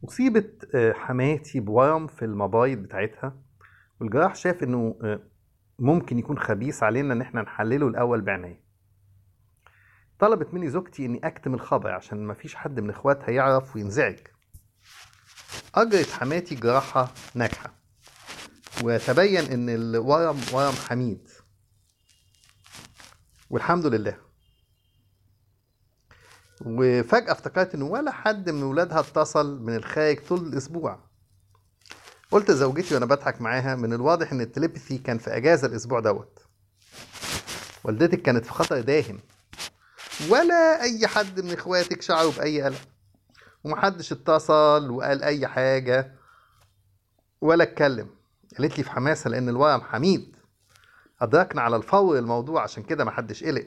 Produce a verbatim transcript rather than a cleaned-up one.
أصيبت آه، حماتي بورم في المبايض بتاعتها، والجراح شاف إنه آه، ممكن يكون خبيث علينا إن إحنا نحلله الأول بعناية. طلبت مني زوجتي إني أكتم الخبر عشان مفيش حد من إخواتها يعرف وينزعج. أجرت حماتي جراحة ناجحة، وتبين إن الورم ورم حميد، والحمد لله. وفجأة افتكرت إن ولا حد من ولادها اتصل من الخارج طول الأسبوع. قلت لزوجتي وأنا بضحك معاها: من الواضح إن التليبثي كان في أجازة الأسبوع دوت. والدتك كانت في خطر داهم، ولا أي حد من إخواتك شعروا بأي قلق، ومحدش اتصل وقال أي حاجة ولا اتكلم. قالت لي في حماسة: لأن الورم حميد، أدركنا على الفور الموضوع، عشان كده محدش قلق.